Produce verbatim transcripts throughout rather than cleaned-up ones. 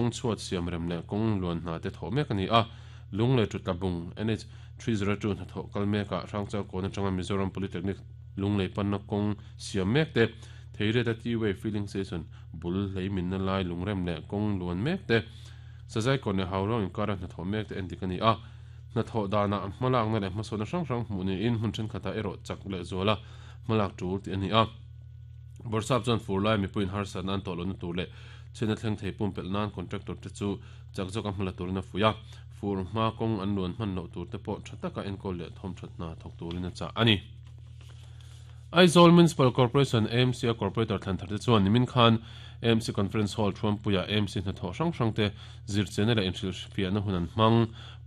kong chuat siam rem le kong luan na te tho mek ani a Lunglei to Tlabung N H three zero two na tho kal meka Hrangchal kawn atanga Mizoram Polytechnic Lunglei panna kong siam mek te theire ta T-way filling station bul lei min na lai lungrem le kong luan mek te sazai kon le haurong in kara na tho mek te endik ani a na tho dana hmalak na le hmasona hrang hrang hmu ni in hmun then khata ero chak le zola hmalak tul ti ani a borsap chuan furlai mipuin harsa nan to lon tur le chena thleng thei pum pel nan contractor te chu chak zawk a hmala turina fuya fur hma kong an luan hman lo tur te pawh tha taka enkawl leh thawm that hna thawk turin a chah ani. Aizawl Municipal Corporation A M C a corporator thlan thar te chuan nimin khan A M C Conference Hall thuampuia A M C hna thawh hrang hrang te zirchena leh inhrilhfiahna hun an hmang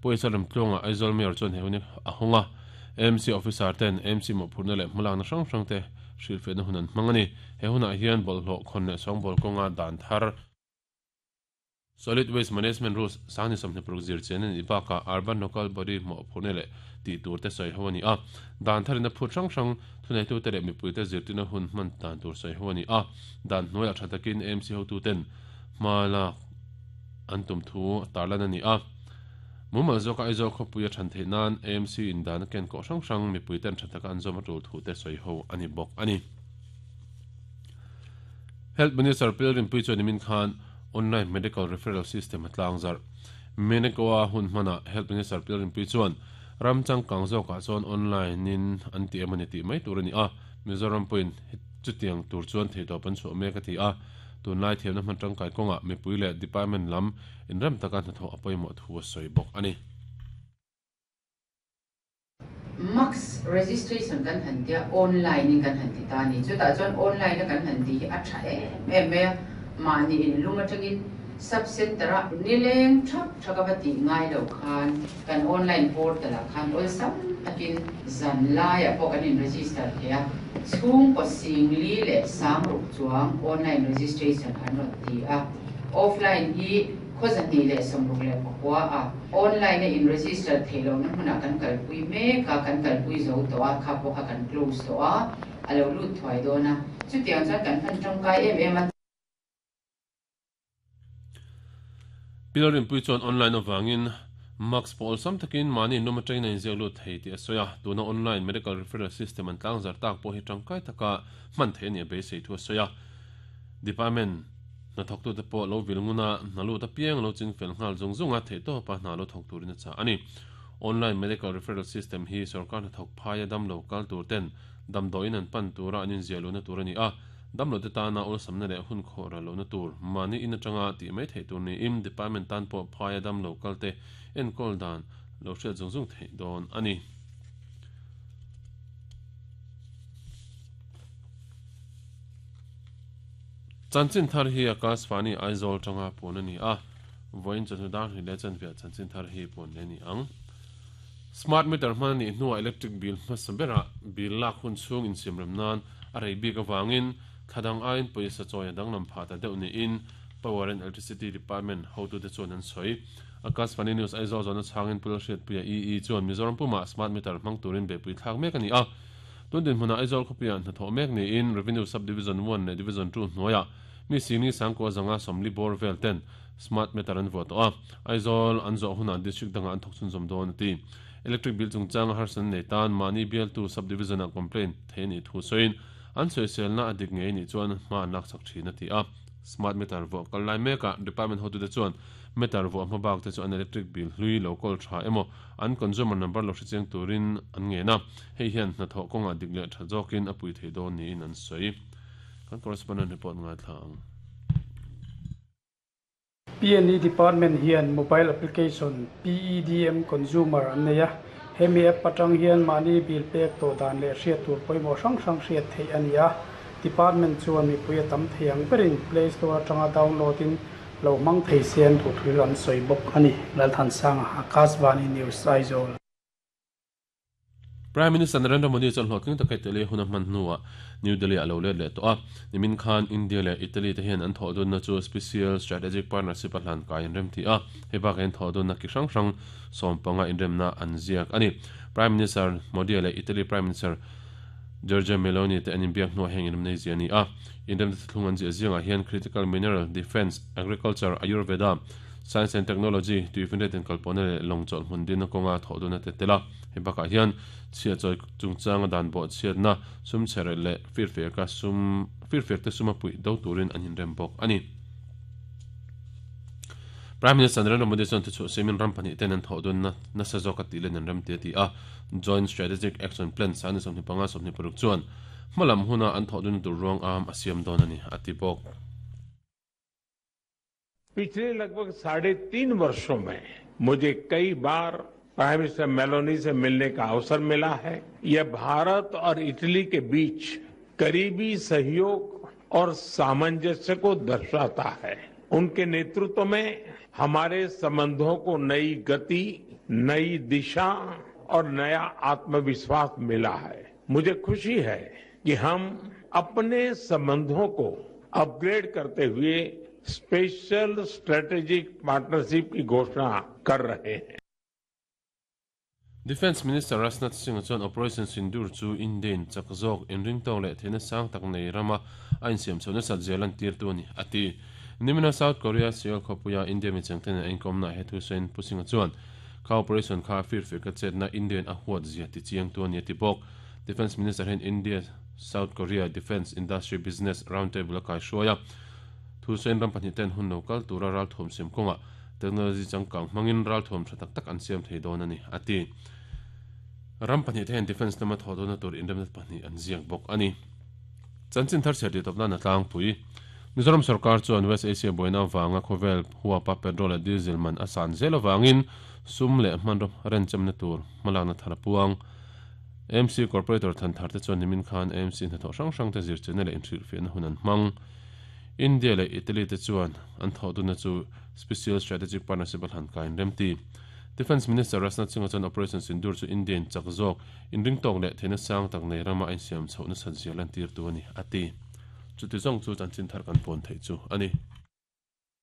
pawisa remtluanga Aizawl Mayor chuan he hun a hawnga A M C officer ten A M C mawhphurna leh hmalakna hrang hrang te hrilhfiahna hun an hmang ani. He hunah hian bawlhhlawh khawn leh sawngbâwl kawnga dan thar Solid Waste Management Rules sangni sawmhnih paruk zirchena ni bakah Urban Local Body mawhphurna leh tih tur te sawi ho ani a. Dan tharina phut hrang hrang thuneitu te leh mipui te zirtina hun hman dan tur sawi ho ani a. Dan hnuaiah tha takin A M C hotu ten hma lak an tum thu tarlan ani a. Mumal zawka Aizawl khawpui a than theih nan A M C in dan a ken kawh hrang hrang mipui ten tha taka an zawm a tul thu te sawi ho ani bawk ani. Health Minister Pilgrim Pui chuan nimin khan online medical referral system a tlang zarh. Menekoa hun hmana Health Minister Pilgrim Pui chuan ramchang kang zawkah chuan online in an ti em ani tih mai tur ani a. Mizoram pawhin chutiang tur chuan theitawp an chhuah mek a ti a. Tunlai thiamna hman tangkai kawngah mipui leh department lam inrem taka hnathawh a pawimawh thu a sawi bawk ani. Max registration kan han tia online in kan han ti ta ni chutah chuan online a kan han ti hi a tha em em mai a mahni in lum atangin sub center a nileng thap thaka va ti ngai lo khan kan online portal ah khan awlsam takin zan laiah pawh kan in register thei a chhung kaw singli leh sang ruk chuang online registration an rawn ti a offline hi khawzahnih leh sawmruk leh pakua a online a in register thei lo na hmunah kan kalpui mek a kan kalpui zo tawh a kha pawh kha kan close tawh a a lo lut thuai dawn a chutiang chuan kan hman tangkai em em a. Pilgrim Pui chuan online awangin Max pawh awlsam takin mahni in lum atangin a inziak lut thei tih a sawi a. Tuna online medical referral system an tlang zar tak pawh hi tangkai taka hman thei ani a beisei thu a sawi a. Department hna thawktu te pawh lo vil nguna hna lut apiang lo ching fel nghal zung zunga theih tawpa hna lo thawk turin a chah ani. Online medical referral system hi sarkar hna thawk phaia dam lo kal tur ten damdawiin an pan tura an inziah lohna tur ani a. Dam lo te tana awlsamna leh hun khawh ral lohna tur mahni in atanga tih mai theih tur niin department tan pawh phaia dam lo kal te enkawl dan lo hriat zung zung theih dawn ani. Chanchin thar hi Akashvani Aizawl tanga pun ani a. Voin chawhnu dar hnih leh chanviah chanchin thar hi pun le ni ang. Smart meter hman ani hnuah electric bill hmasa berah bill lak hun chhung insiam rem nan a rei bik awangin thladang aiin pawisa chawi a danglam phah ta deuh niin Power and Electricity Department hotute chuan an sawi. Akashvani News Aizawl zawhna chhangin Pul Hriatpuia E E chuan Mizoram pumah smart meter hmang turin beihpui thlak mek ani a. Tun dinhmunah Aizawl khawpuiah hnathawh mek niin Revenue Sub Division one leh Division two hnuaiah mi singni sangkua zanga sawmli bawr vel ten smart meter an vuah tawh a. Aizawl an zawh hunah district dangah an thawk chhunzawm dawn a ti. Electric bill chungchang a harsan nei tan mahni bialtu sub division ah complaint thei ani thu sawiin an sawiselna a dik ngei ni chuan hma an lak chak thin a ti a. Smart meter vuah kal lai mekah department hotute chuan meter vuah hma bak te chu an electric bill hlui lo kawl tha emaw an consumer number lo hrichiang turin an ngen a. Hei hian hnathawh kawngah dik leh tha zawkin a pui thei dawn niin an sawi. Kan correspondent report ngai thla ang. P and E department hian mobile application P E D M consumer an nei a. Hemi app atang hian mahni bill pek tawh dan leh hriat tur pawimawh hrang hrang hriat theih ani a. Department chuan mipui a tam thei ang berin Play Store atanga download in lo hmang thei se an duh thil an sawi bawk ani. Lalthansanga Akashvani News Aizawl. Prime Minister Narendra Modi chuan hlawhtling taka Italy hun a hman hnuah New Delhi a lo let leh tawh a. Nimin khan India leh Italy te hian an thawh dunna chu Special Strategic Partnership a hlan kai inrem ti a. Hei bakah hian thawh dunna ki hrang hrang sawm panga inremna an ziak ani. Prime Minister Modi leh Italy Prime Minister Giorgia Meloni te anin biak hnuah heng in nei zia ni a inrem thlung an zia zinga hian critical mineral defense agriculture ayurveda science and technology tuifinret kalpona le longchol hmun din konga thoduna te tela hebaka hian chia choi chungchang dan bo chiatna sum chere le firfe ka sum firfe te suma pui do turin an inrem bok ani Prime Minister Narendra Modi chuan thu semin ram pahnih ten an thodun na na sa zawk a tih len an ram te ti a Joint Strategic Action Plan san sawmhnih panga sawmhnih paruk chuan hmalam huna an thodun tur ruang am a siam dawn ani a ti bawk. पिछले लगभग साढ़े तीन वर्षों में मुझे कई बार prime minister Meloni से मिलने का अवसर मिला है। यह भारत और इटली के बीच करीबी सहयोग और सामंजस्य को दर्शाता है। उनके नेतृत्व में हमारे संबंधों को नई गति, नई दिशा और नया आत्मविश्वास मिला है। मुझे खुशी है कि हम अपने संबंधों को अपग्रेड करते हुए special strategic partnership की घोषणा कर रहे हैं। Defense Minister Rajnath Singh chuan Operation Sindoor chu Indian chakzok inring tawng leh theihna sang tak nei rama a insiam chhohna sat zel an tir tu ani ati. Nimina South Korea Seoul khawpuia India mi chengten a inkomna he thu sawiin Pu Singh chuan kha operation kha firfir ka chetna Indian a huat zia ti chiang tu ani ati bawk. Defense Minister hian India South Korea Defense Industry Business Roundtable a kai hruaia thu sawiin ram pahnih ten hun lo kal tura ral thawm siam kawnga technology changkang hmangin ral thawm tha tak tak an siam thei dawn ani ati. Ram pahnih te hian defense lama thaw dawna tur inremna pahnih an ziak bawk ani. Chanchin thar chhiat tawpna na tlangpui Mizoram sarkar chuan West Asia boina wanga khawvel huapa petrol leh diesel man a san zel awangin sum leh hmanraw renchamna tur hmalakna thar a puang. M C Corporator than thar te chuan nimin khan M C hnathawh hrang hrang te zirchena leh inhrilhfiahna hun an hmang. India leh Italy te chuan an thawh duna chu Special Strategic Partnership a hlan kain remti. Defense Minister Rajnath Singh chuan Operation Sindoor chu Indian chak zawk inring tawk leh theihna sang tak nei rama a insiam chhohna sat zel an tir tu ani ati. Chuti zawng chu chanchin thar kan pawn theih chu ani.